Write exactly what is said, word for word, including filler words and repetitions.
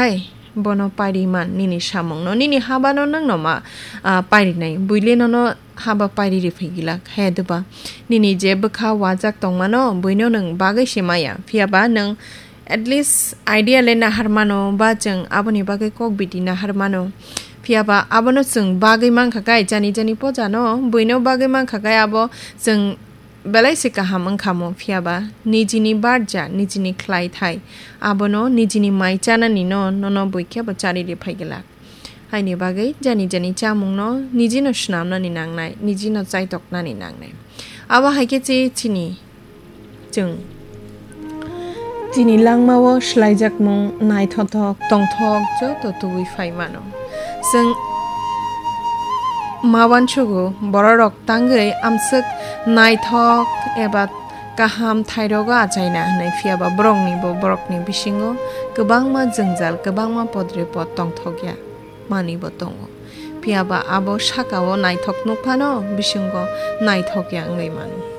Ai, bono pairi man nini samungno, nini habano nwngno ma, ah, pairinai, buile nono haba pairi riphai gilak, he duba? Nini je bwkha wajak tongmano, buino nwng bagwi se maya, phiyaba nwng at least idea le nahar mano, ba chwng aboni bagwi kok bidi nahar mano. Phiyaba abono chwng bagwi mankha kai, jani jani pojano, buino bagwi mankha kai abo chwng belai se kaham wngkha mo, phiyaba nijini barja, nijini khlai thai, abono nijini mai chanani no nono bui khe bo charili phai glak. Haini bagwi jani jani chamungno nijino swnamnani nangnai, nijino chaitoknani nangnai. Abo hai khe che chini, chwng chini langmao swlaijakmung naithothok, tongthok joto tubui phai mano. Chwng ma uansugo, bororok tangwi amswk naithok eba kaham thairogo achaina hwnwi, phiyaba borokni bo borokni bisingo kwbangma jwngjal, kwbangma podre pod tongthokya manwi bo tongo. Phiyaba abo sakao naithok nuk phano bisingo naithokya wngwi mano.